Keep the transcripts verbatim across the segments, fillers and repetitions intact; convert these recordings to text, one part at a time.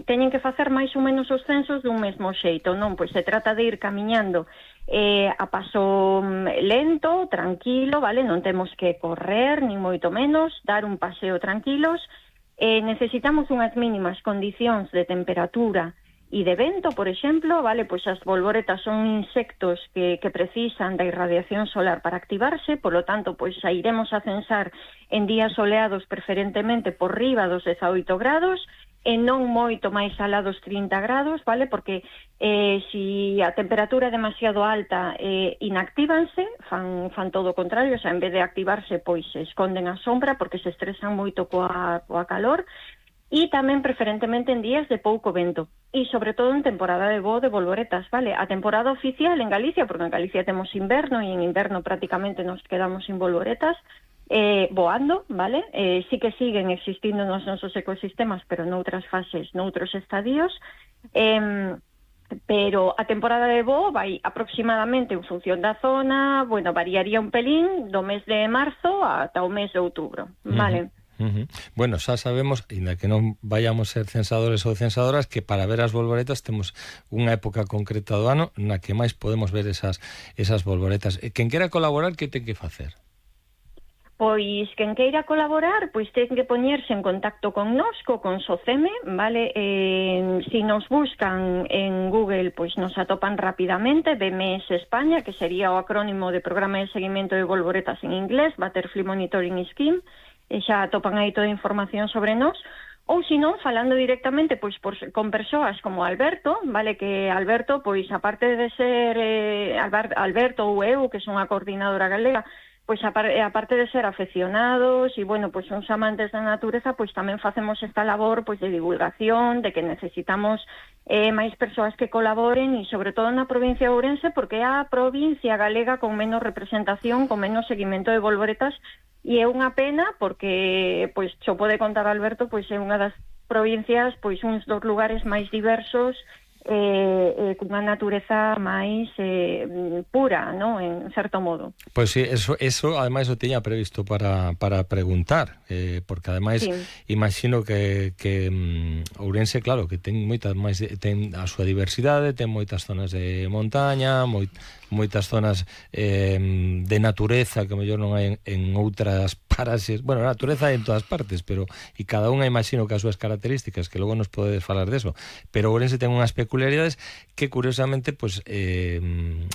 teñen que facer máis ou menos os censos dun mesmo xeito, non? Pois se trata de ir camiñando eh, a paso lento, tranquilo, vale? Non temos que correr, nin moito menos, dar un paseo tranquilos. Eh, necesitamos unhas mínimas condicións de temperatura e de vento, por exemplo, vale, pois as bolboretas son insectos que, que precisan da irradiación solar para activarse, por lo tanto, pois sairemos a censar en días soleados preferentemente por riba dos dezaoito grados, e non moito máis alá dos trinta grados, vale, porque eh, si a temperatura é demasiado alta, eh, inactívanse, fan, fan todo o contrario, o sea, en vez de activarse, pois se esconden a sombra porque se estresan moito coa, coa calor, e tamén preferentemente en días de pouco vento e sobre todo en temporada de voo de bolboretas, vale? A temporada oficial en Galicia, porque en Galicia temos inverno e en inverno prácticamente nos quedamos sin bolboretas eh, voando, vale? Eh, sí que siguen existindo nos nosos ecosistemas, pero noutras fases, noutros estadios, eh, pero a temporada de voo vai aproximadamente en función da zona, bueno, variaría un pelín do mes de marzo ata o mes de outubro, vale? Uh-huh. Uh-huh. Bueno, xa sabemos, ainda que non vayamos ser censadores ou censadoras, que para ver as bolboretas temos unha época concreta do ano na que máis podemos ver esas, esas bolboretas. E quen quera colaborar, que ten que facer? Pois, quen queira colaborar, pois ten que poñerse en contacto con nos, co Consoceme, vale? Eh, si nos buscan en Google, pois nos atopan rapidamente, B M S España, que sería o acrónimo de Programa de Seguimento de Bolboretas en inglés, Butterfly Monitoring Scheme, e xa atopan aí toda a información sobre nós, ou se non, falando directamente pois por, con persoas como Alberto, vale, que Alberto, pois aparte de ser eh, Alberto ou eu, que son a coordinadora galega, pois aparte de ser afeccionados e, bueno, pois uns amantes da natureza, pois tamén facemos esta labor pois de divulgación, de que necesitamos eh, máis persoas que colaboren e sobre todo na provincia de Ourense, porque é a provincia galega con menos representación, con menos seguimento de bolboretas. E é unha pena porque, pois, xo pode contar Alberto, pois é unha das provincias, pois uns dos lugares máis diversos eh, eh, cunha natureza máis eh, pura, ¿no? En certo modo. Pois sí, eso, eso ademais o tiña previsto para, para preguntar, eh, porque ademais sí. Imagino que, que um, Ourense, claro, que ten moitas máis, ten a súa diversidade, ten moitas zonas de montaña, moi, moitas zonas eh, de natureza que mellor non hai en, en outras paraxes. Bueno, a natureza hai en todas partes, pero e cada unha imagino que as súas características, que logo nos podedes falar deso, pero Ourense ten unhas peculiaridades que curiosamente, pois, eh,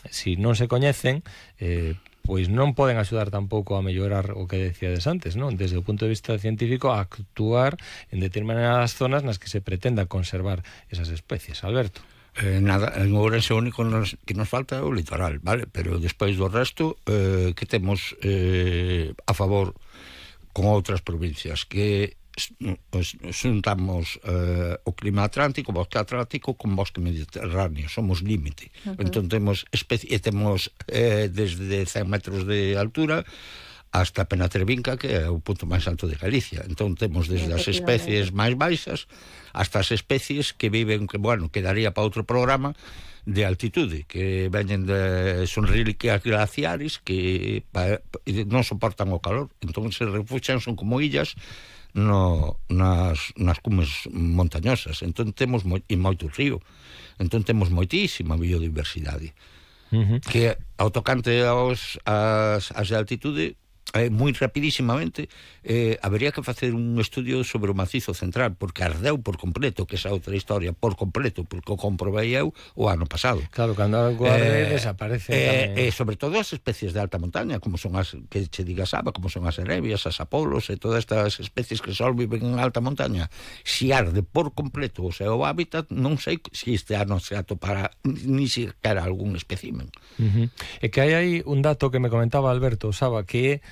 si non se coñecen, eh, pois non poden axudar tampouco a mellorar o que decíades antes, non? Desde o punto de vista científico, a actuar en determinadas zonas nas que se pretenda conservar esas especies. Alberto. Eh, nada, en Ourense o único nos, que nos falta é o litoral, vale? Pero despois do resto, eh, que temos eh, a favor con outras provincias, que pues, xuntamos eh, o clima atlántico, o bosque atlántico con bosque mediterráneo, somos límite. Uh-huh. Entón temos, especi- temos eh, desde cen metros de altura hasta Penatrevinca, que é o punto máis alto de Galicia. Entón temos desde as especies máis baixas hasta as especies que viven, que bueno, quedaría para outro programa, de altitude, que veñen de, son reliquias glaciares que pa, non soportan o calor, entón se refuxan, son como illas no, nas, nas cumes montañosas. Entón temos moi, e moito río, entón temos moitísima biodiversidade. Uh-huh. Que ao tocante aos, as, as de altitude, eh, moi rapidísimamente eh, habería que facer un estudio sobre o macizo central, porque ardeu por completo, que esa outra historia, por completo, porque o comprobei eu o ano pasado. Claro, cando algo arde, eh, desaparece eh, eh, sobre todo as especies de alta montaña, como son as que che diga Saba, como son as erebias, as apolos e todas estas especies que só viven en alta montaña. Si arde por completo o seu hábitat, non sei se este ano se atopará ni siquiera algún espécimen. Uh-huh. E que hai aí un dato que me comentaba Alberto Saba, que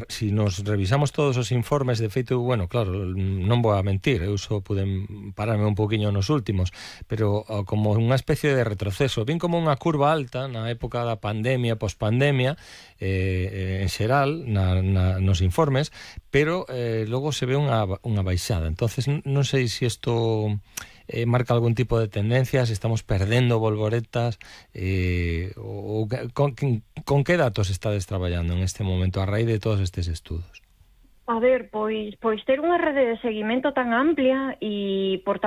si nos revisamos todos os informes, de feito, bueno, claro, non vou a mentir, eu só puden pararme un poquinho nos últimos, pero como unha especie de retroceso, vin como unha curva alta na época da pandemia, pospandemia, eh, en xeral, na, na, nos informes, pero eh, logo se ve unha, unha baixada. Entonces non sei se isto Eh, marca algún tipo de tendencia, se estamos perdendo bolboretas, eh, o, con, con que datos estades traballando en este momento a raíz de todos estes estudos? A ver, pois, pois ter unha rede de seguimento tan amplia e, por